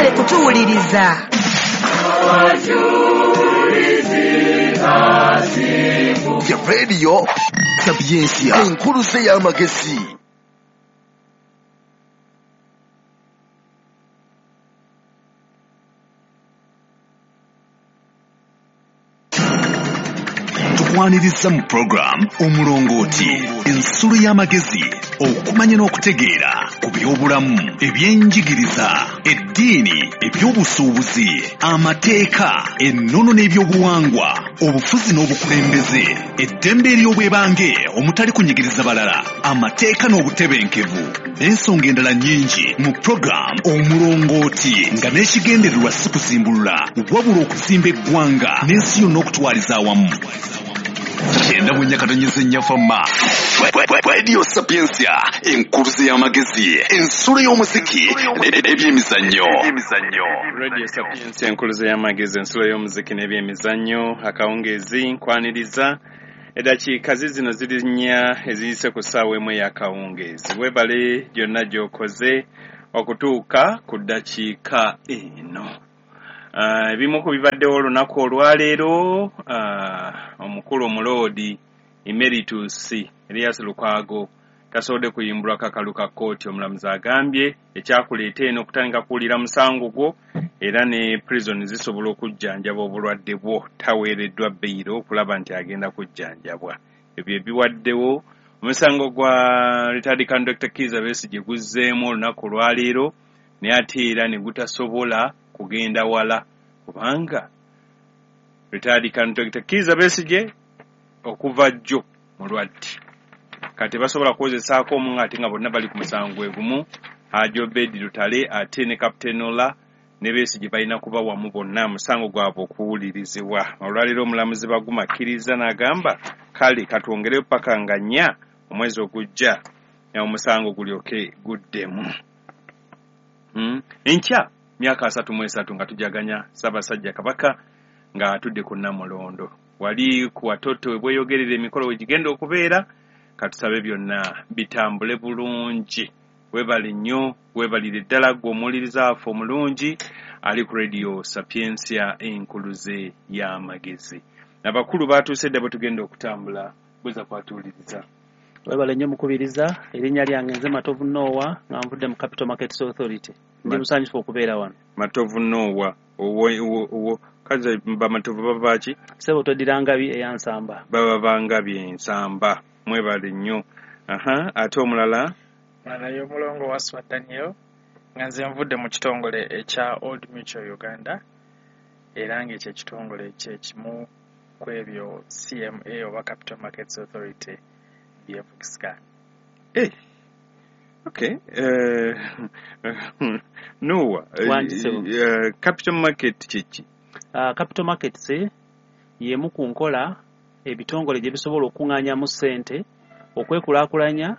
Mwebale kutuwuliriza. Ya Radio Sapientia, enkuluze y'amagezi. Tukwaniriza mu program Omulongooti, ensulo y'amagezi, okumanya n'okutegeera ku by'obulamu, ebyenjigiriza, eddiini, ebyobusuubuzi, amateeka, ennono n'ebyobuwangwa, obufuzi n'obukulembeze, eddembe ery'obwebange omutali kunyigiriza balala, amateeka n'obutebenkevu, n'ensonga endala nnyingi mu program Omulongooti, nga n'ekigendererwa si kuzimbulula wabula okuzimba eggwanga n'ensi yonna okutwaliza awamu. 94.4 Fama Radio Sapientia, enkuluze y'amagezi, ensulo y'omuziki n'ebyemizannyo. Radio Sapientia, enkuluze y'amagezi, ensulo y'omuziki n'ebyemizannyo. Akawungeezi nkwaniriza eddakiika zino ziri nnya eziyise ku ssaawa emu ey'akawungeezi. Weebale gyonna gy'okoze okutuuka ku ddakiika eno. Ebimu ku bibaddewo olunaku olwaleero, omukulu omuloodi Emeritus Erias Lukwago tasobodde kuyimbulwa kakalu ka kkooti. Omulamuzi agambye ekyakuleeta eno okutandika kuwulira musango gwo, era ne prison zisobola okujjanjaba obulwadde bwo. Taweereddwa beyiro okulaba nti agenda kujjanjabwa. Ebyo ebiwaddewo. Omusango gwa retired Dr. Kizza Besigye guzzeemu olunaku olwaleero, naye ate era ne gutasobola kugenda wala, kubanga retired Dr. Kizza Besigye okuva jjo mulwadde. Kati basobola kukozesaako omu ate nga bonna bali ku musango gwe gumu, Haji Obedi Lutale ate ne Captain Ola ne Besigye balina kuba wamu bonna musango gwabwe okuwulirizibwa. Olwaleero omulamuzi Baguma akkiriza n'agamba kale katwongereyo paka nga 4 omwezi ogujja omusango gulyoke guddemu. Enkya myaka 33 nga tujaganya Ssaabasajja Kabaka nga atudde ku Nnamulondo. Wali ku watoto bweyogerera emikolo we gigenda okubeera, katusabe byonna bitambule bulungi. Weebale nnyo, weebalire ddala ggwe omuwuliriza waffe omulungi ali ku Radio Sapientia, enkuluze y'amagezi. Abakulu batuuse dda bwe tugenda okutambula, bweza kwatuwuliriza. Weebale nnyo mukubiriza. Erinnya lyange nze Matovu Noah, nga nvudde mu Capital Markets Authority. Ndi musanyufu okubeera wano. Matovu Noah, kazi bamatovu baba ki? Ssebo toddira Ngabi eya Nsamba. Baba ba Ngabi Ensamba. Mwebale nnyo. Aha, ate omulala? Omulala y'omulongo Waswa Daniel, nga nze nvudde mu kitongole ekya Old Mutual Uganda, era ng'ekyo ekitongole kye kimu ku ebyo CMA oba Capital Markets Authority byevugisa. Okay. Noah, Capital Market kiki? Capital Markets y'emu ku nkola ebitongole gye bisobola okuŋŋaanyamu ssente, okwekulaakulanya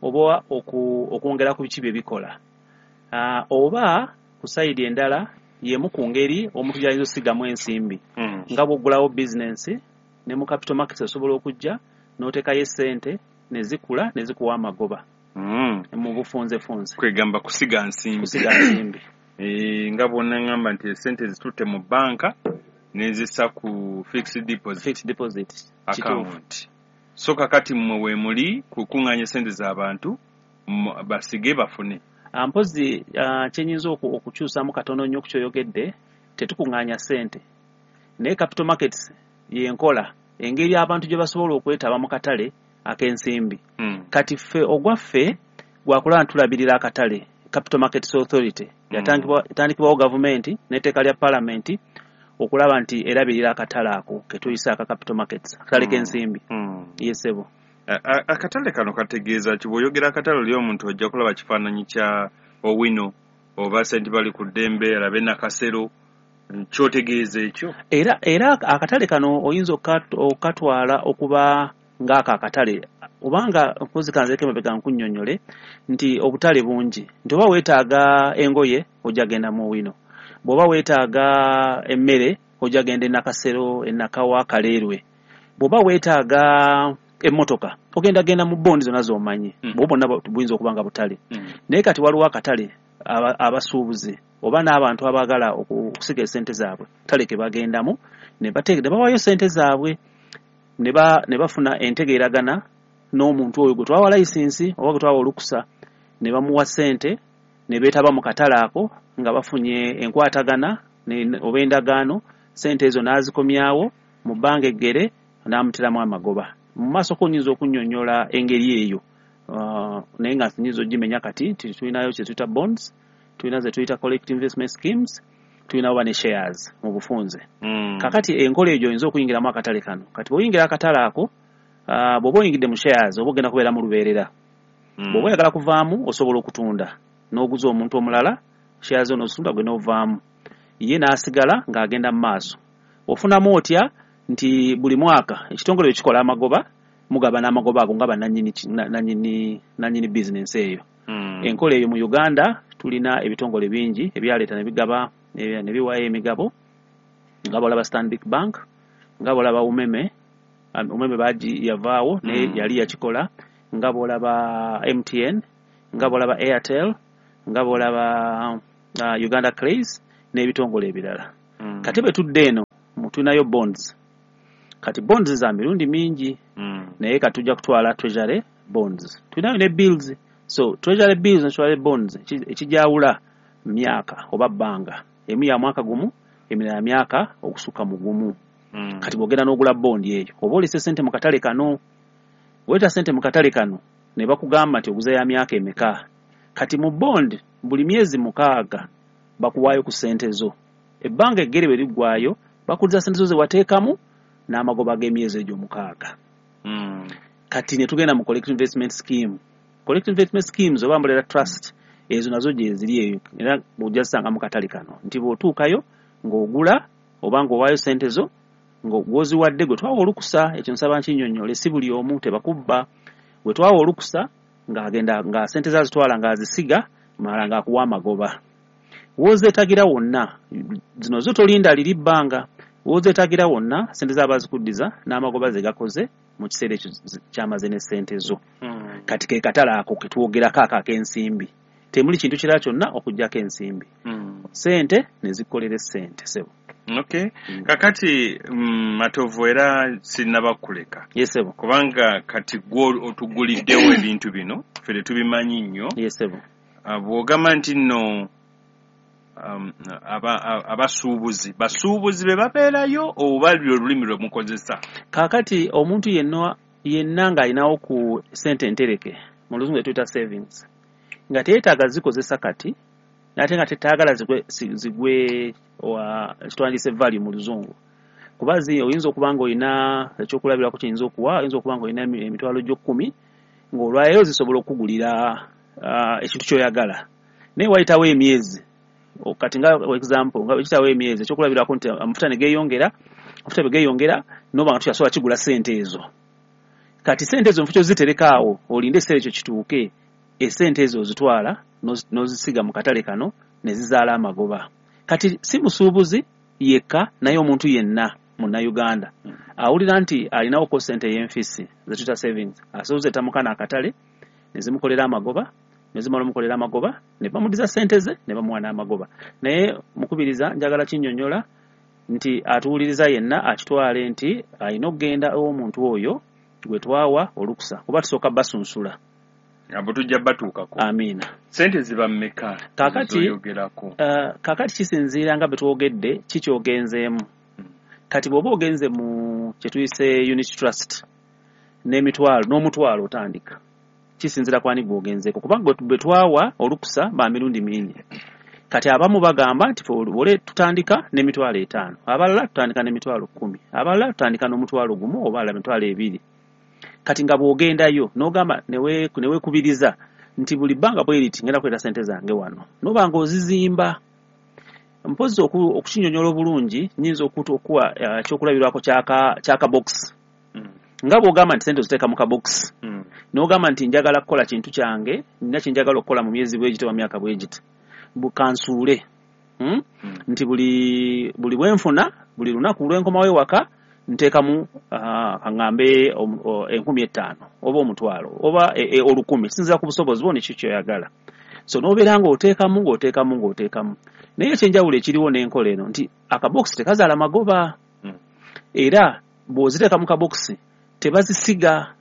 oba okwongera ku biki bye bikola. Oba ku sayidi endala y'emu ku ngeri omuntu gy'ayinza okusigamu ensimbi. Nga bw'oggulawo bizinensi ne mu Capital Markets osobola okujja n'oteekayo essente ne zikula ne zikuwa amagoba. Mu bufunzefunze. Kwegamba kusiga nsimbi. Kusiga nsimbi. Nga bwonna ngamba nti essente zitutte mu banka n'ezissa ku fixed deposit. Fixed deposit. Account. So kakati mmwe we muli kukuŋŋaanya essente z'abantu basige bafune. Mpozi kye nnyinza okukyusaamu katono nnyo ku kyoyogedde, tetukuŋŋaanya ssente. Naye Capital Markets y'enkola engeri abantu gye basobola okwetaba mu katale ak'ensimbi. Kati ffe ogwaffe gwakulaba ntulabirira akatale. Capital Markets Authority yatandikibwawo gavumenti n'etteeka lya paalamenti okulaba nti erabirira akatale ako ke tuyise aka Capital Markets, akatale k'ensimbi. Ye ssebo. Akatale kano kategeeza ki? Bw'oyogera akatale oli omuntu ojja kulaba kifaananyi kya Owino oba St. Bali ku ddembe, alabe Nakasero, kyotegeeza ekyo? Era akatale kano oyinza okukatwala okuba ng'ako akatale, obanga mpozi kanzireko emabega nkunnyonnyole nti obutale bungi, nti oba weetaaga engoye ojja genda mu Owino, bw'oba weetaaga emmere ojja genda e Nakasero, e Nakawa, Kaleerwe, bw'oba weetaaga emmotoka ogenda genda mu bondi zonna z'omanyi, bwo bwonna buyinza okuba nga butale. Naye kati waliwo akatale Abasuubuzi oba n'abantu abaagala okusiga esente zaabwe, katale ke bagendamu ne bawaayo sente zaabwe ne bafuna entegeeragana n'omuntu oyo gwe twawa layisinsi oba gwe twawa olukusa, ne bamuwa sente ne beetaba mu katale ako nga bafunye enkwatagana oba endagaano. Sente ezo n'azikomyawo mu bbanga eggere n'amuteramu amagoba. Mu maaso ko nyinza okunnyonnyola engeri eyo, naye nga nyinza ogimenya kati nti tulinayo kye tuyita bonds, tulina ze tuyita collective investment schemes, tulina oba ne shares mu bufunze. Kakati enkola eyo oyinza okuyingiramu akatale kano. Kati bw'oyingira akatale ako, bw'oba oyingidde mu shares oba ogenda kubeera mu lubeerera. Bw'oba oyagala kuvaamu osobola okutunda n'oguza omuntu omulala shares zo, n'ozitunda gwe n'ovaamu, ye n'asigala ng'agenda mu maaso. Ofunamu otya? Nti buli mwaka ekitongole bwe kikola amagoba, mugabana amagoba ago nga bannannyini nanyini bizinensi eyo. Enkola eyo mu Uganda tulina ebitongole bingi ebyaleeta ne bigaba ne biwaayo emigabo, nga bw'olaba Stanbic Bank, nga bw'olaba Umeme. Umeme baagi yavaawo naye yali yakikola, nga bw'olaba MTN, nga bw'olaba Airtel, nga bw'olaba Uganda Clays n'ebitongole ebirala. Kati bwe tudde eno tulinayo bonds. Kati bonds za mirundi mingi, naye kati tujja kutwala treasury bonds, tulinayo ne bills. So treasury bills ne treasury bonds ekijawula myaka oba bbanga. Emu ya mwaka gumu, emirala myaka okusukka mu gumu. Kati bw'ogenda n'ogula bondi eyo oba olese sente mu katale kano, bw'oleta sente mu katale kano ne bakugamba nti oguza ya myaka emeka. Kati mu bond buli myezi 6 bakuwaayo ku sente zo. Ebbanga eggere bwe liggwaayo bakuzza sente zo ze wateekamu n'amagoba g'emyezi egyo 6. Kati ne tugenda mu collective investment scheme. Collective investment schemes oba umbrella trust ezo nazo gye ziri eyo, era ojja zisanga mu katale kano nti bw'otuukayo ng'ogula oba ng'owaayo sente zo ng'oziwadde gwe twawa olukusa. Ekyo nsaba nkinnyonnyole, si buli omu, tebakubba. Gwe twawa olukusa ng'agenda nga sente zazitwala ng'azisiga mala ng'akuwa amagoba. W'ozeetagira wonna, zino zo tolinda liri bbanga, w'ozeetagira wonna sente zaaba zikuddiza n'amagoba ze gakoze mu kiseera ekyo kyamaze ne sente zo. Kati ke katale ako ke twogerako ako ak'ensimbi, temuli kintu kirala kyonna okuggyako ensimbi. Sente ne zikolera essente, ssebo. Okay. Kakati Matovu, era sinnaba kuleka. Yes, ssebo. Kubanga kati gwe otuguliddewo ebintu bino, ffe tetubimanyi nnyo. Yes, ssebo. Bw'ogamba nti nno abasuubuzi basuubuzi be babeerayo oba lwe lulimi lwe mukozesa? Kaakati omuntu yenna yenna ng'alinawo ku sente entereke, mu luzungu tuyita savings, nga teyeetaaga zikozesa kati ate nga tetaagala zigwe kitwandise value mu luzungu, kuba oyinza okuba ng'olina ekyokulabirako kiyinza okuwa, oyinza okuba ng'olina emitwalo gyo 10 ng'olwayo zisobola okukugulira ekintu ky'oyagala, naye wayitawo emyezi, kati nga example nga ekitawo emyezi ekyokulabirako nti amafuta ne geeyongera, amafuta bwe geeyongera n'oba nga tokyasobola kigula sente ezo. Kati sente ezo nfu kyozitereka awo olinde ekiseera ekyo kituuke, esente ezo ozitwala n'ozisiga mu katale kano ne zizaala amagoba. Kati si musuubuzi yekka, naye omuntu yenna munnayuganda awulira nti alinawo ko sente ey'enfisi ze tuyita savings, asobola mu kano akatale ne zimukolera amagoba, ne zimala omukolera amagoba ne bamuddiza sente ze ne bamuwa n'amagoba. Naye mukubiriza njagala kinnyonnyola nti atuwuliriza yenna akitwale nti alina okugenda ew'omuntu oyo gwe twawa olukusa, kuba tusooka basunsula. Abo tujja batuukako. Amiina. Sente ziba mmeka? Kaakati, kaakati kisinziira nga bwe twogedde kikyogenzeemu. Kati bw'oba ogenze mu kye tuyise unit trust n'emitwalo n'omutwalo otandika, kisinziira kwani gw'ogenzeeko, kubanga bwe twawa olukusa ba mirundi mingi. Kati abamu bagamba nti ole tutandika n'emitwalo 5, abalala tutandika n'emitwalo 10, abalala tutandika n'omutwalo 1 oba abalala emitwalo 2. Kati nga bw'ogendayo n'ogamba neweekubiriza nti buli bbanga bwe riti ngenda kuleeta sente zange wano, n'oba ng'ozizimba. Mpozzi okukinnyonnyola obulungi nnyinza okuwa ekyokulabirako ky'akabokisi. Nga bw'ogamba nti sente oziteeka mu kabokisi, n'ogamba nti njagala kukola kintu kyange, nina kye njagala okukola mu myezi bwe giti oba myaka bwe giti, kansuule. Nti buli bwe nfuna, buli lunaku lwe nkomawo ewaka nteekamu kaŋŋambe 5,000 oba 1,000 oba 1,000, kisinziira ku busobozi bwo neki kyoyagala. So n'obeera ng'oteekamu ng'oteekamu ng'oteekamu. Naye ekyenjawulo ekiriwo n'enkola eno nti akabokisi tekazaala magoba. Era bw'oziteeka mu kabokisi tebazisiga,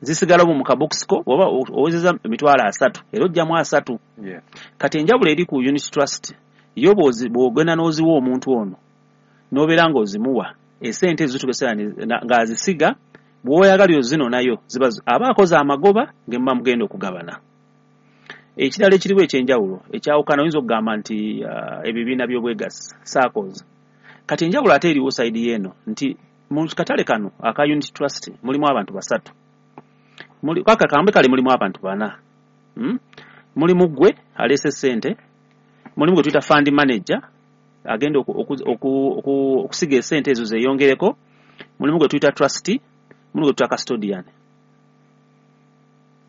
zisigalamu mu kabokisi ko, oba owezeza 30,000 era ojjamu 30. Kati enjawulo eri ku unit trust yo, bw'ogenda n'oziwa omuntu ono n'obeera ng'ozimuwa esente ezo zituuka ng'azisiga, bw'oyagala ozino nayo ziba aba akoze amagoba ngemuba mugenda okugabana. Ekirala ekiriwo ekyenjawulo ekyawukana, oyinza okugamba nti ebibiina by'obwegassi, SACCOs. Kati enjawulo ate eriwo side y'eno nti mu katale kano aka unit trust mulimu abantu basatu, kaka kambe kale mulimu abantu bana. Mulimu ggwe aleese ssente, mulimu gwe tuyita fund manager agenda okusiga esente ezo zeeyongereko, mulimu gwe tuyita trustee, mulimu gwe tuyita custodian.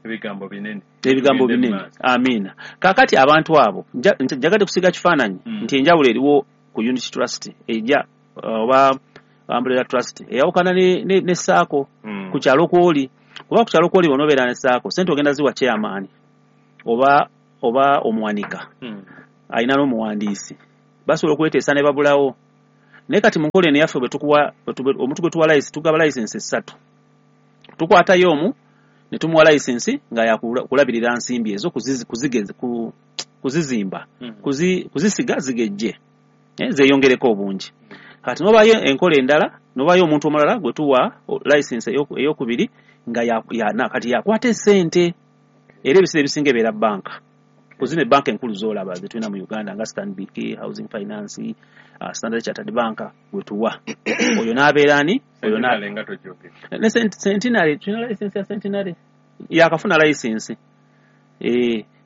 Ebigambo binene. Ebigambo Tugende binene. mu maaso. Amiina. Kaakati abantu abo njagadde kusiga kifaananyi nti enjawulo eriwo ku unit trust ejja oba umbrella trust eyawukana ne SACCO ku kyalo kwoli, oba ku kyalo kwoli bw'onoobeera ne SACCO, sente ogenda ziwa chairman oba omuwanika alina n'omuwandiisi, basobola okweteesa ne babulawo. Naye kati mu nkola eno eyaffe bwe tukuwa, omuntu gwe tuwa license, tugaba license 3, tukwatayo omu ne tumuwa license nga yakulabirira nsimbi ezo, kuzizimba, kuzisiga zigejje, zeeyongereko obungi. Kati n'obayo enkola endala, n'obayo omuntu omulala gwe tuwa license eyokubiri nga kati yakwata essente, era ebiseera ebisinga ebeera banka. Ku zino ebbanka enkulu z'olaba ze tulina mu Uganda nga Stanbic, Housing Finance, Standard Chartered Bank gwe tuwa. Oyo n'abeera ani? Oyo Centenary nga togyogera. Ne Centenary, tulina license ya Centenary. Yakafuna license.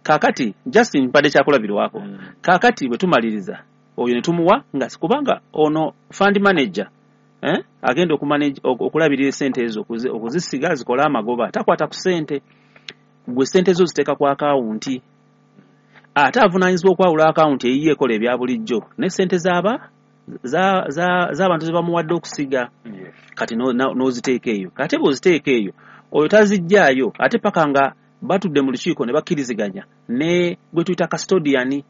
Kaakati just mpadde kyakulabirwako. Kaakati bwe tumaliriza oyo ne tumuwa nga kubanga ono fund manager, agenda okulabirira essente ezo, okuzisiga zikole amagoba, takwata ku ssente. Gwe ssente zo ziteeka ku akawunti, ate avunaanyizibwa okwawula akawunti eyiye ekola ebya bulijjo ne ssente z'abantu ze bamuwadde okusiga. Kati n'oziteeka eyo. Kati bw'oziteeka eyo oyo tazijjaayo ate paka nga batudde mu lukiiko ne bakkiriziganya ne gwe tuyita custodian,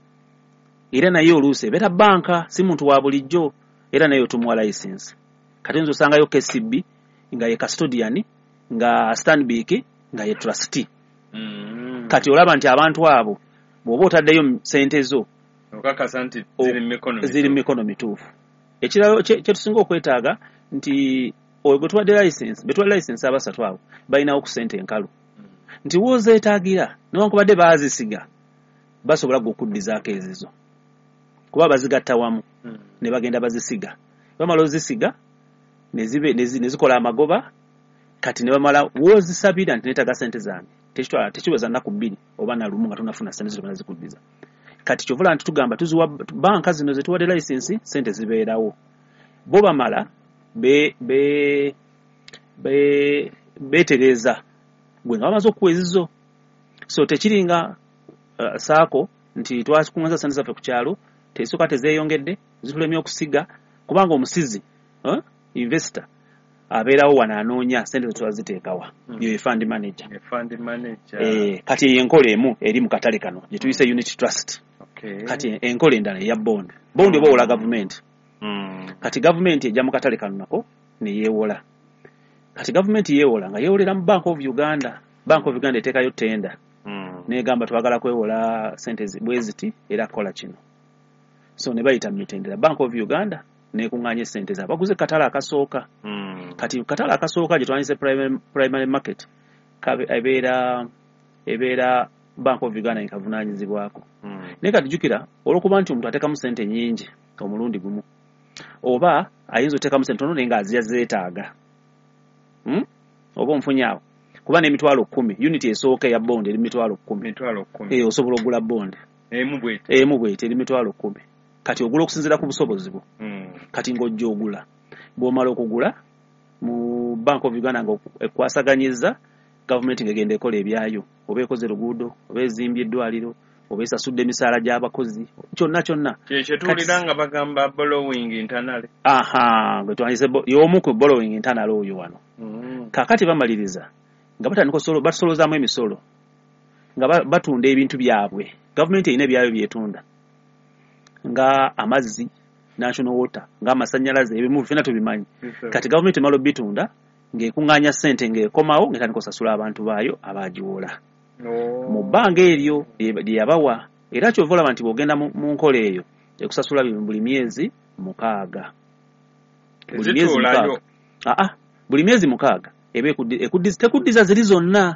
era naye oluusi ebeera banka, si muntu wa bulijjo, era naye tumuwa license. Kati oyinza osangayo KCB nga ye custodian, nga Stanbic nga ye trustee. Kati olaba nti abantu abo bw'oba otaddeyo ssente zo, okakasa nti ziri mu mikono mituufu. Ziri mu mikono mituufu. Ekirala kye tusinga okwetaaga nti oyo gwe tuwadde license, be tuwadde license abasatu abo balinawo ku ssente enkalu, nti w'ozeetaagira newankubadde baazisiga basobola gwe okuddizaako ezizo, kuba bazigatta wamu ne bagenda bazisiga, bamala ozisiga ne zikola amagoba. Kati ne bamala w'ozisabira nti neetaaga ssente zange, tekiweza nnaku 2 oba na lumu nga tonafuna ssente zo tebannazikuddiza. Kati kyova olaba nti tugamba tuziwa banka zino ze tuwadde license, ssente zibeerawo, bo bamala beetereeza gwe nga bamaze okuwa ezizo. So tekiringa SACCO nti twakuŋŋaanyiza ssente zaffe ku kyalo, tesooka tezeeyongedde, zitulemye okusiga, kubanga omusizi, investor abeerawo wano anoonya ssente ze twaziteekawa. Yo ye fund manager. Ye fund manager. Kati eyo enkola emu eri mu katale kano gye tuyise unit trust. Kati enkola endala eya bond. Bond oba owola gavumenti. Kati gavumenti ejja mu katale kano nako ne yeewola. Kati gavumenti yeewola nga yeewolera mu Bank of Uganda. Bank of Uganda eteekayo tender. N'egamba twagala kwewola ssente bwe ziti era kola kino. So ne bayita mu mitendera. Bank of Uganda n'ekuŋŋaanya essente zaabwe. Baguze katale akasooka. Kati katale akasooka gye twandiyise primary market, ebeera Bank of Uganda ekavunaanyizibwako. Naye kati jjukira olw'okuba nti omuntu ateekamu ssente nnyingi omulundi gumu, oba ayinza oteekamu ssente ntono naye ng'azija zeetaaga. Oba onfunye awo? Kuba n'emitwalo 10, unit esooka eya bond eri 10,000. 10,000. Osobola okugula bond. Emu bw'eti. Emu bw'eti eri 10,000. Kati ogula okusinziira ku busobozi bwo. Kati ng'ojja ogula. Bw'omala okugula mu Bank of Uganda nga ekwasaganyizza, gavumenti ng'egenda ekola ebyayo, oba ekoze luguudo, oba ezimbye eddwaliro, oba esasudde emisaala gy'abakozi, kyonna kyonna. Kye kye tuwulira nga bagamba borrowing internally. Aha, gwe twandiyise y'omu ku borrowing internally oyo wano. Kaakati bamaliriza nga batandika batusolozaamu emisolo. Nga batunda ebintu byabwe. Gavumenti erina ebyayo byetunda nga amazzi, National Water, nga amasannyalaze, ebimu ffenna tubimanyi. Kati gavumenti emala obitunda ng'ekuŋŋaanya ssente, ng'ekomawo ng'etandika osasula abantu baayo abagiwola mu bbanga eryo lye yabawa. Era kyova olaba nti bw'ogenda mu nkola eyo ekusasula buli myezi 6. Buli myezi Tezituulayo. 6. Aa, buli myezi 6 eba tekuddiza ziri zonna,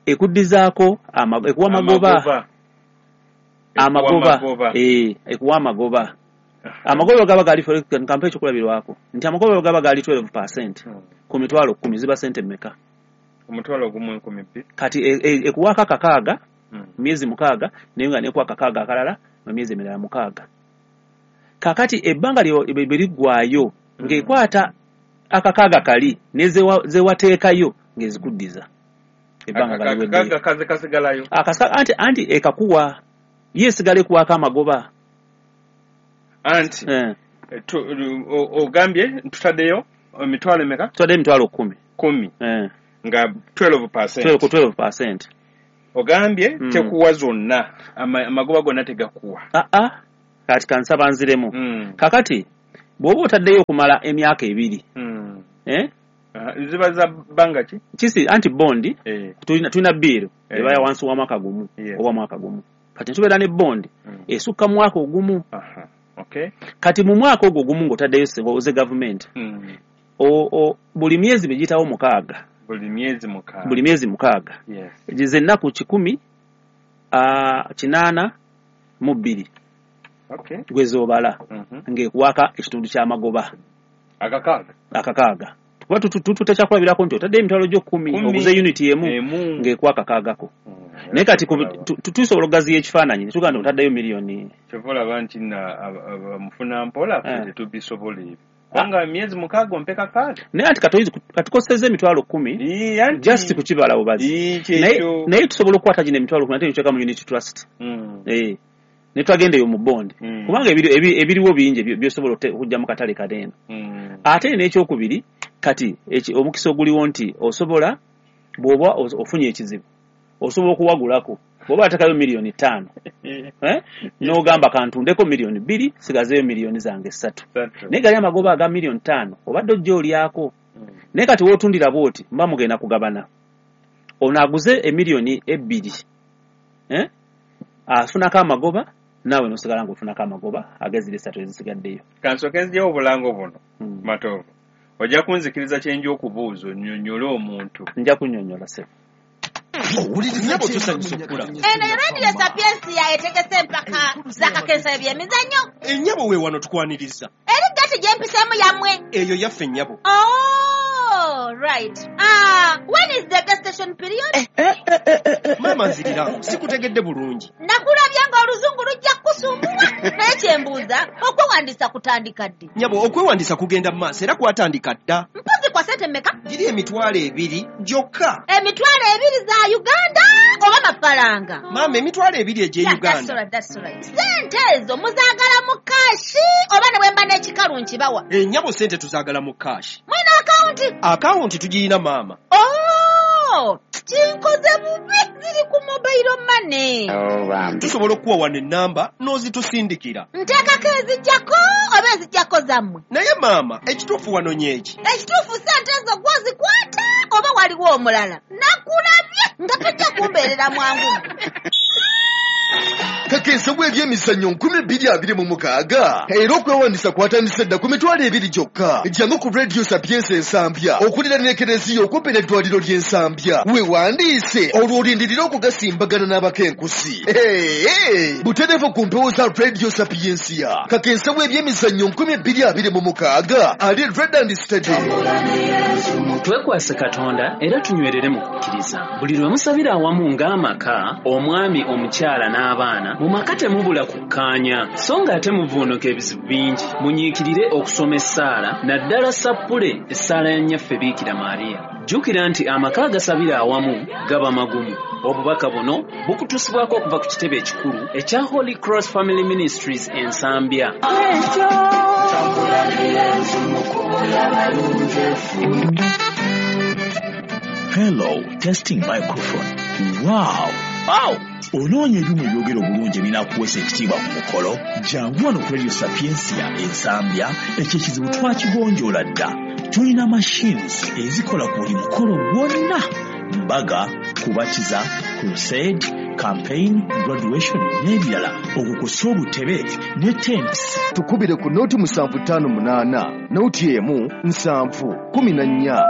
ekuddizaako ekuwa magoba. Amagoba. Amagoba. Ekuwa amagoba. Amagoba gaba gali, kampe ekyokulabirwako nti amagoba gaba gali 12% ku mitwalo 10, ziba sente mmeka? 10,000. Kati ekuwaako akakaaga myezi 6, naye nga nekuwa akakaaga akalala mu myezi emirala 6. Kakati ebbanga bwe liggwayo ng'ekwata akakaaga kali nezewateekayo ng'ezikuddiza ebbanga nga liweddeyo. Akakaaga kaze kasigalayo. Anti ekakuwa ye esigala ekuwaako amagoba. Anti ogambye tutaddeyo emitwalo emeka? Tutaddeyo emitwalo 10. 10. Nga 12%. 12 ku 12%. Ogambye tekuwa zonna, amagoba gonna tegakuwa. Aa, kati kansaba nziremu. Kakati bw'oba otaddeyo okumala emyaka 2, Ziba za bbanga ki? Kisi anti bondi tulina bill eba ya wansi wa mwaka gumu oba mwaka gumu. Kati tubeera ne bondi esukka mwaka ogumu. Kati mu mwaka ogwo ogumu ng'otaddeyo oze gavumenti buli myezi bigiyitawo 6. Buli myezi 6. Buli myezi 6. Ze ennaku 182. Gwe z'obala ng'ekuwaaka ekitundu ky'amagoba. Akakaaga. Akakaaga. Kuba tutekyakulabirako nti otaddeyo emitwalo gyo 10, oguze unit emu ng'ekuwa akakaagako. Naye kati tusobola okugaziya ekifaananyi ne tugamba nti otaddeyo miliyoni. Kyova olaba nti mufuna mpola ffe tetubisobola ebyo. Kubanga myezi 6 ompe kakaaga. Naye anti katukosezza emitwalo 10 just kukibala bubazi. Naye tusobola okukwata gino emitwalo 10 ate ne tuteeka mu unit trust. Ne twagenda eyo mu bond. Kubanga ebiriwo bingi by'osobola okujja mu katale kaneeno. Ate n'ekyokubiri kati omukisa oguliwo nti osobola bw'oba ofunye ekizibu osobola okuwagulako bw'oba atekayo miliyoni 5, n'ogamba kantundeko miliyoni 2, sigazeeyo miliyoni zange 3. Naye gali amagoba aga miliyoni 5 obadde ojja olyako. Naye kati w'otundira bw'oti mba mugenda kugabana. Ono aguze emiliyoni 2, afunako amagoba, naawe n'osigala ng'ofunako amagoba ag'eziri 3 ezisigaddeyo. Kansooke nziggyewo obulango buno, Matovu. Ojja kunzikiriza kye nja okubuuza onnyonnyole omuntu. Nja kunnyonnyola ssebo. Nnyabo tusanyusa okukulaba. Eno Radio Sapiensia etegese empaka z'akakensa eby'emizannyo. Ennyabo we wano tukwaniriza. Eri gati gye mpiseemu yammwe. Eyo yaffe nnyabo. Oh, right. When is the gestation period? Maama nzirira, sikutegedde bulungi. Nakulabye ng'oluzungu lujja kukusumbuwa. Naye kye mbuuza, okwewandiisa kutandika ddi? Nnyabo, okwewandiisa kugenda mu maaso era kwatandika dda. Mpozi kwa ssente mmeka? Giri 20,000 gyokka. 20,000 za Uganda oba mafaranga? Maama, 20,000 egy'e Uganda. That's right. Ssente ezo muzaagala mu kaashi oba ne bwe mba n'ekikalu nkibawa? Ennyabo, ssente tuzaagala mu kaashi. Mwina akawunti? Akawunti tugirina maama. Oh, kinkoze bubi, ziri ku mobile money. Tusobola okukuwa wano ennamba n'ozitusindikira. Nteekako ezijjako oba ezijjako zammwe? Naye maama, ekituufu wano nyeeki. Ekituufu ssente ezo gw'ozikwata oba waliwo omulala? Nakulabye nga tojja kumbeerera mwangu. Kakensa bw'ebyemizannyo 2026 era okwewandiisa kwatandise dda ku 20,000 gyokka. Jangu ku Radio Sapiensia Ensambya okuliraana ekereziya okumpi n'eddwaliro ly'Ensambya, weewandiise olwo olindirire okugasimbagana n'abakenkusi. Butereevu ku mpewo za Radio Sapiensia. Kakensa bw'ebyemizannyo 2026 ali Red and Steady. Twekwase Katonda era tunywerere mu kukkiriza. Buli lwe musabira awamu ng'amaka, omwami, omukyala n'abaana, mu maka temubula kukkaanya, so ng'ate muvuunuka ebizibu bingi. Munyiikirire okusoma essaala, naddala sappule essaala ya Nnyaffe Biikira Maria. Jjukira nti amaka agasabira awamu gaba magumu. Obubaka buno bukutuusibwako okuva ku kitebe ekikulu ekya Holy Cross Family Ministries Ensambya. Hello, testing microphone. Wow. Aw! Onoonya ebyuma ebyogera obulungi ebinaakuweesa ekitiibwa ku mukolo? Jangu wano ku Radio Sapientia e Nsambya, ekyo ekizibu twakigonjoola dda. Tulina machines ezikola ku buli mukolo gwonna: mbaga, kubatiza, crusade, campaign, graduation n'ebirala, okwo kw'ossa obutebe ne tents. Tukubire ku noti 758 noti 1 7 14.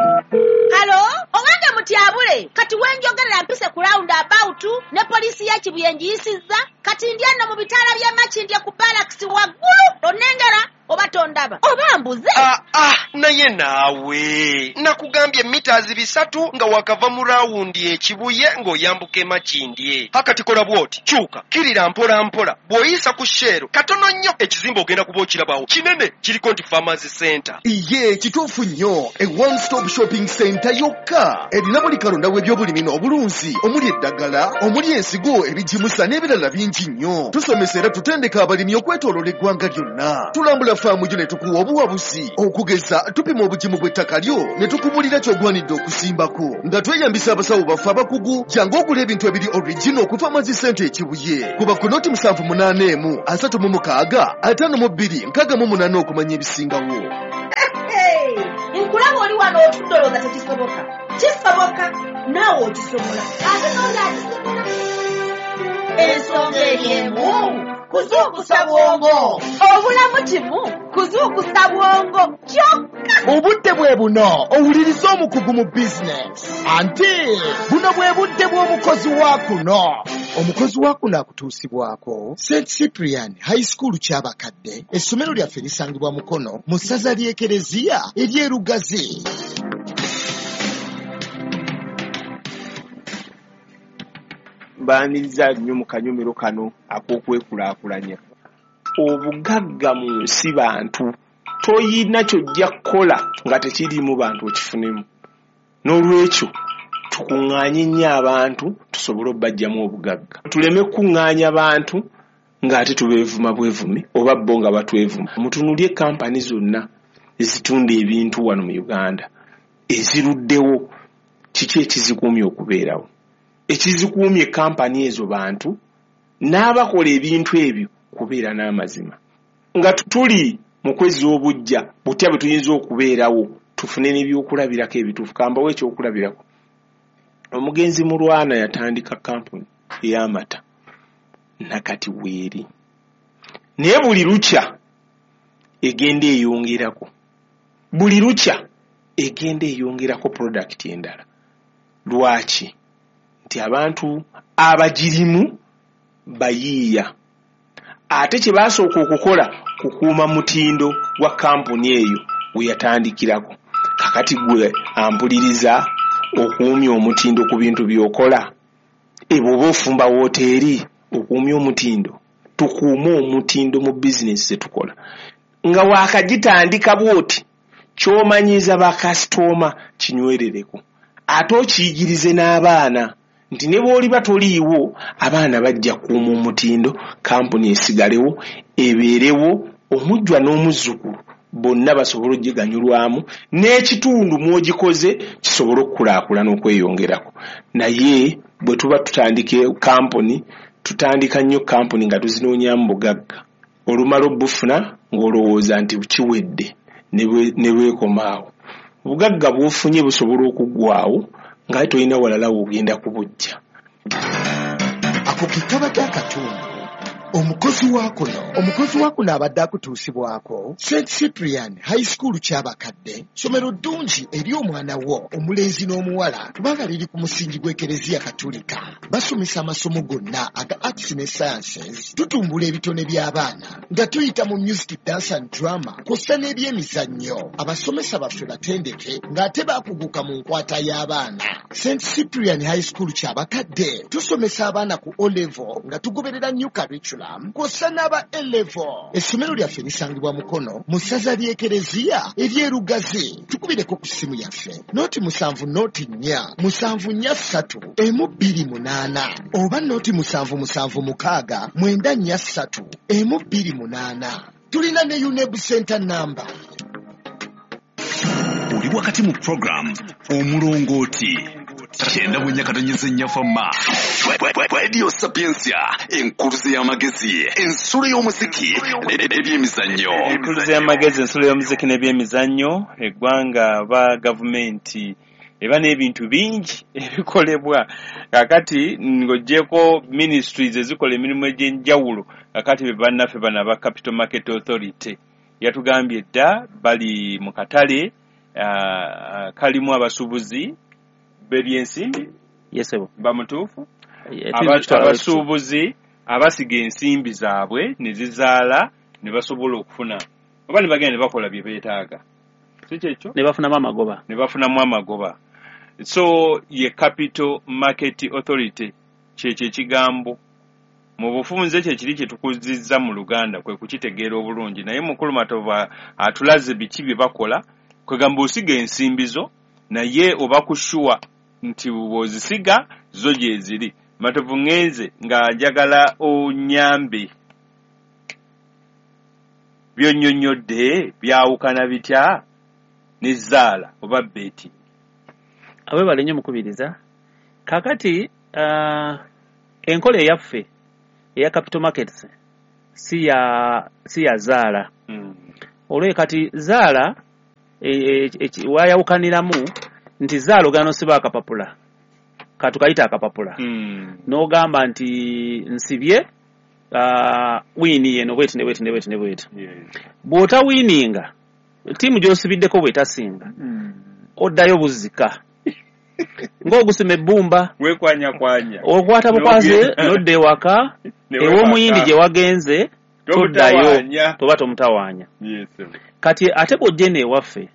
Halo, owange mutyabule, kati wenjogerera mpise ku round about ne poliisi ya Kibuye ngiyisizza, kati ndi eno mu bitaala by'e Makindye ku barracks waggulu, onnengera oba tondaba oba mbuze? Ah, ah, naye naawe nakugambye mita 300 nga wakava mu rawundi ekibuye ng'oyambuka emakindye. Hakati kola bw'oti, kyuka kirira mpola mpola, bw'oyisa ku Shell katono nnyo ekizimbe ogenda kuba okirabawo, kinene, kiriko nti Farmers Center. Iye, kituufu nnyo. E one stop shopping center yokka erina buli kalonda w'ebyobulimi n'obulunzi, omuli eddagala, omuli ensigo, ebigimusa n'ebirala bingi nnyo. Tusomesa era tutendeka abalimi okwetooloola eggwanga lyonna. Tulambula faamu gyo ne tukuwa obuwabuzi. Okugeza, tupima obugimu bw'ettaka lyo ne tukubulira ky'ogwanidde okusimbako nga tweyambisa abasawo baffe abakugu. Jangu ogula ebintu ebiri original ku Farmers Center Ekibuye. Kuba ku noti 781 36 52 68 okumanya ebisingawo. Hey, nkulaba oli wano otudde olowooza tekisoboka. Kisoboka, naawe okisobola, ate n'oli akisobola. Ensonga eri emu, kuzuukusa bwongo. Obulamu kimu kuzuukusa bwongo kyokka. Obudde bwe buno owuliriza omukugu mu bizinesi, anti buno bwe budde bw'omukozi wa kuno. Omukozi wa kuno akutuusibwako St Cyprian High School Kyabakadde. Essomero lyaffe lisangibwa Mukono mu ssaza ly'Ekereziya ery'Erugazi. Mbaaniriza nnyo mu kanyomero kano ak'okwekulaakulanya. Obugagga mu nsi bantu. Toyina ky'ojja kukola nga tekiriimu bantu okifunemu. N'olwekyo tukuŋŋaanye nnyo abantu tusobole obbajjamu obugagga. Tuleme kukuŋŋaanya bantu ng'ate tubeevuma bwevumi oba bo nga batwevuma. Mutunuulye kampani zonna ezitunda ebintu wano mu Uganda eziruddewo, kiki ekizikuumye okubeerawo? Ekizikuumye kampani ezo bantu n'abakola ebintu ebyo kubeera n'amazima. Nga tuli mu kwezza obuggya, butya bwe tuyinza okubeerawo tufune n'ebyokulabirako ebituufu? Kambawe ekyokulabirako. Omugenzi Mulwana yatandika kampuni ey'amata, nakati weeri, naye buli lukya egenda eyongerako, buli lukya egenda eyongerako product endala. Lwaki? Nti abantu abagirimu bayiiya, ate kye baasooka okukola kukuuma mutindo gwa kampuni eyo we yatandikirako. Kakati gwe ampuliriza, okuumya omutindo ku bintu by'okola, bw'oba ofumba wooteeri, okuumya omutindo. Tukuume omutindo mu bizinesi ze tukola. Nga waakagitandika bw'oti, ky'omanyiiza bakasitooma kinywerereko, ate okiyigirize n'abaana nti ne bw'oliba toliiwo, abaana bajja kukuuma omutindo, kampuni esigalewo, ebeerewo, omujjwa n'omuzzukulu bonna basobole okugiganyulwamu, n'ekitundu mw'ogikoze kisobole okukulaakulana okweyongerako. Naye bwe tuba tutandika kampuni, tutandika nnyo kampuni nga tuzinoonyaamu bugagga. Olumala obufuna ng'olowooza nti kiwedde, ne bwekomaawo. Obugagga bw'ofunye busobola okuggwaawo nga tolina walala w'ogenda kubujja. Ako ke kabadde akatundu omukozi wa kuno. Omukozi wa kuno abadde akutuusibwako St Cyprian High School Kyabakadde. Ssomero ddungi eri omwana wo omulenzi n'omuwala kubanga liri ku musingi gw'Ekereziya Katulika. Basomesa amasomo gonna aga arts ne sciences. Tutumbula ebitone by'abaana nga tuyita mu music, dance and drama kw'ossa n'ebyemizannyo. Abasomesa baffe batendeke ng'ate baakuguka mu nkwata y'abaana. St Cyprian High School Kyabakadde tusomesa abaana ku O level nga tugoberera new curriculum kw'ossa n'aba A level. Essomero lyaffe lisangibwa Mukono mu ssaza ly'Ekereziya ery'Erugazi. Tukubireko ku ssimu yaffe noti 7 noti 4 7 4 3 1 2 8 oba noti 7 7 6 9 4 3 1 2 8. Tulina ne UNEB center number. Oli wakati mu program Omulongooti. 94.4 Fama. Radio Sapientia, enkuluze y'amagezi, ensulo y'omuziki n'ebyemizannyo. Enkuluze y'amagezi, ensulo y'omuziki n'ebyemizannyo. Eggwanga ba gavumenti eba n'ebintu bingi ebikolebwa. Kakati ng'oggyeko ministries ezikola emirimu egy'enjawulo, kakati be bannaffe bano aba Capital Market Authority yatugambye dda bali mu katale kalimu abasuubuzi b'ebyensimbi. Yesebo bamutuufu, abasuubuzi abasiga ensimbi zaabwe ne zizaala ne basobola okufuna oba ne bagenda ne bakola bye beetaaga, si kyekyo? Ne bafunamu amagoba, ne bafunamu amagoba. So ye Capital Market Authority kyekyo ekigambo mu bufunze kyekiri kye tukuzizza mu Luganda kwe kukitegeera obulungi. Naye Mukulu Matovu atulaze biki bye bakola. Kwegamba osiga ensimbi zo naye oba kushuwa nti bw'ozisiga zo gye ziri. Matovu, ŋŋenze nga njagala onyambe, byonnyonnyodde byawukana bitya ne zaala oba beti? Aweebale nnyo mukubiriza. Kaakati enkola eyaffe eya capital markets si ya zaala. Olwo kati zaala wayawukaniramu nti zaala ogenda n'osiba akapapula, katukayita akapapula, n'ogamba nti nsibye wiini yeno bweti ne bweti ne bweti ne bweti. Bw'otawiininga ttiimu gy'osibiddeko bw'etasinga oddayo buzika ng'ogusima ebbumba, wekwanyakwanya, okwata bukwaze n'odda ewaka ew'omuyindi gye wagenze toddayo, toba tomutawaanya. Kati ate bw'ojja eno ewaffe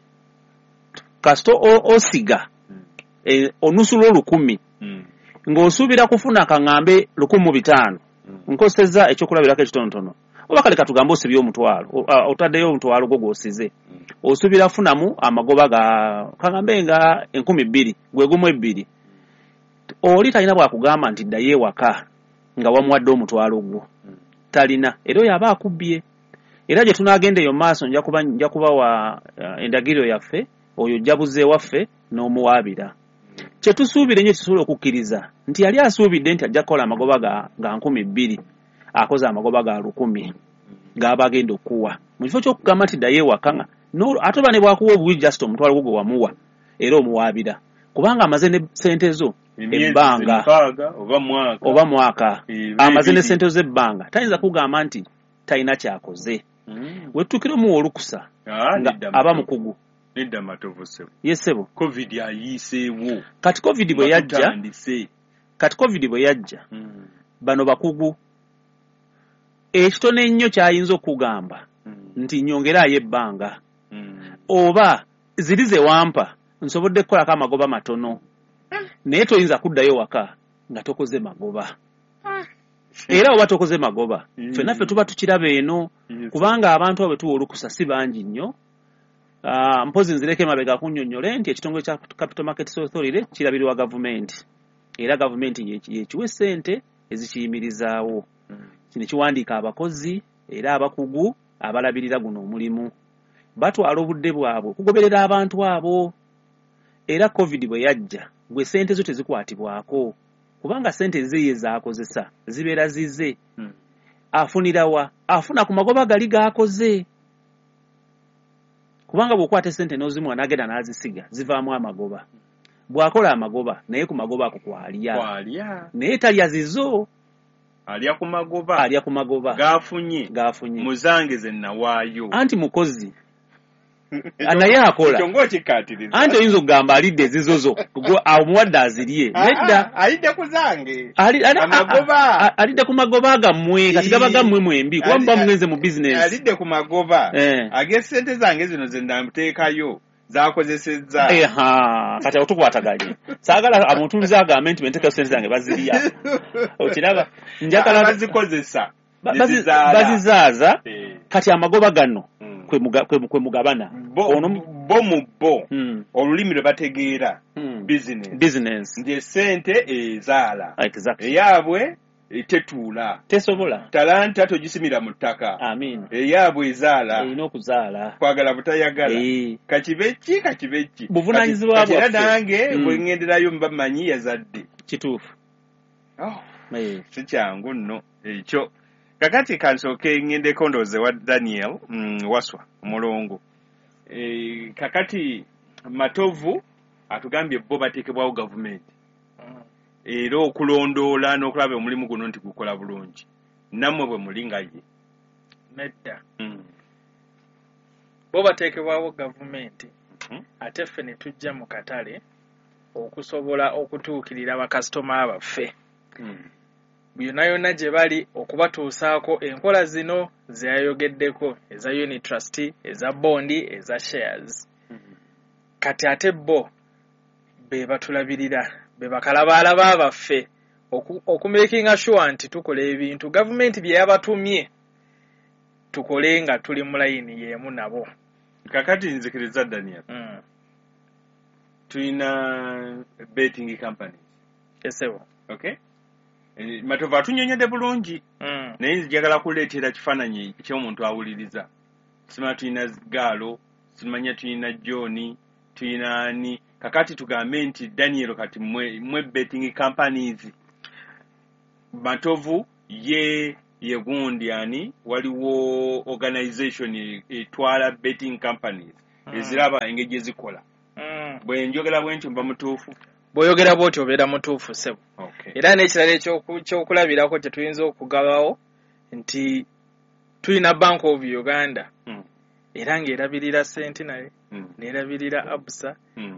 kasita osiga onusula 1,000 ng'osuubira kufuna kaŋŋambe 1,500, nkosezza ekyokulabirako ekitonotono, oba kale katugambe osibye omutwalo, otaddeyo omutwalo gwo gw'osize, osuubira funamu amagoba ga kaŋŋambe nga 2,000, gwe gumu 2. Oli talina bw'akugamba nti ddayo ewaka nga wamuwadde omutwalo gwo, talina. Era oyo aba akubbye. Era gye tunaagenda eyo maaso nja kubawa endagiriro yaffe, oyo ojja buzza ewaffe n'omuwaabira. Kye tusuubira ennyo tusobola okukkiriza nti yali asuubidde nti ajja kukola amagoba ga 2,000, akoze amagoba ga 1,000 g'aba agenda okuwa. Mu kifo ky'okugamba nti ddayo ewaka, ate oba ne bw'akuwa obuwi just omutwalo gwo gwe wamuwa, era omuwaabira kubanga amaze ne ssente zo ebbanga oba mwaka, amaze ne ssente zo ebbanga, tayinza kugamba nti talina ky'akoze. We tutuukira omuwa olukusa nga aba mukugu. Nedda Matovu ssebo. Yes ssebo. Covid ayiiseewo. Kati Covid bwe yajja, bano bakugu. Ekitono ennyo ky'ayinza okugamba nti nyongeraayo ebbanga, oba ziri ze wampa nsobodde kukolako amagoba matono, naye toyinza kuddayo waka nga tokoze magoba. Era oba tokoze magoba, ffenna ffe tuba tukiraba eno, kubanga abantu abo tuwa olukusa si bangi nnyo. Mpozi nzireko emabega kunnyonnyole nti ekitongole kya Capital Markets Authority kirabirirwa gavumenti, era gavumenti yekiwa essente ezikiyimirizaawo. Kino kiwandiika abakozi era abakugu abalabirira guno omulimu, batwala obudde bwabwe okugoberera abantu abo. Era Covid bwe yajja, gwe ssente zo tezikwatibwako kubanga ssente ze ye zaakozesa zibeera zize. Afunirawa? Afuna ku magoba gali g'akoze, kubanga bw'okwata essente n'ozimuwa n'agenda n'azisiga zivaamu amagoba. Bw'akola amagoba naye ku magoba ako kwalya, naye talya zizo, alya ku magoba, alya ku magoba g'afunye g'afunye muzange ze nawaayo. Anti mukozi naye akola, anti oyinza okugamba alidde ezizo zo, omuwadde azirye. Nedda, alidde ku zange, amagoba alidde ku magoba gammwe. Kati gaba gammwe mwembi kuba muba mugenze mu bizinesi. Alidde ku magoba ag'essente zange zino ze namuteekayo zakozesezza. Kati awo tukwataganye. Saagala amutuulize agambe nti benteekayo ssente zange bazirya. Okiraba, njagala bazikozesa, bazizaaza. Kati amagoba gano kwe mugabana bo mu bo olulimi lwe bategeera business business nti essente ezaala eyaabwe Tetuula. Tesobola. Talanta togisimira mu ttaka. Amiina. Eyaabwe ezaala. Erina okuzaala. Kwagala butayagala. Kakibe ki, kakibe ki. Buvunaanyizibwa Kati era bwaffe. nange bwe ŋŋenderayo mba mmanyi yazadde. Kituufu. Oh, si kyangu nno ekyo. Kakati kansooke ŋŋendeko ndowooze wa Daniel Waswa Omulongo. Kakati Matovu atugambye bo bateekebwawo gavumenti era okulondoola n'okulaba omulimu guno nti gukola bulungi. Nammwe bwe muli nga ye? Nedda. Bo bateekebwawo gavumenti, ate ffe ne tujja mu katale okusobola okutuukirira bakasitoma baffe yonna yonna gye bali, okubatuusaako enkola zino ze yayogeddeko, eza unit trust, eza bondi, eza shares. Kati ate bo be batulabirira, be bakalabaalaba baffe okumakinga sure nti tukola ebintu gavumenti bye yabatumye tukole nga tuli mu layini y'emu nabo. Kakati nzikiriza, Daniel, tulina betting companies. Esebo. Okay, Matovu atunyonyodde bulungi, naye njagala kuleetera kifaananyi ky'omuntu awuliriza. Simanya tulina Gaalo, simanya tulina John, tulina ani. Kakati tugambe nti Daniel, kati mwe betting companies, Matovu ye yegundi ani, waliwo organization etwala betting companies eziraba engeri gye zikola. Bwe njogera bwe ntyo mba mutuufu? Bw'oyogera bw'otyo obeera mutuufu, ssebo. Okay. Era n'ekirala ekyokulabirako kye tuyinza okugabawo nti tulina Bank of Uganda, era ng'erabirira Centenary, n'erabirira Absa.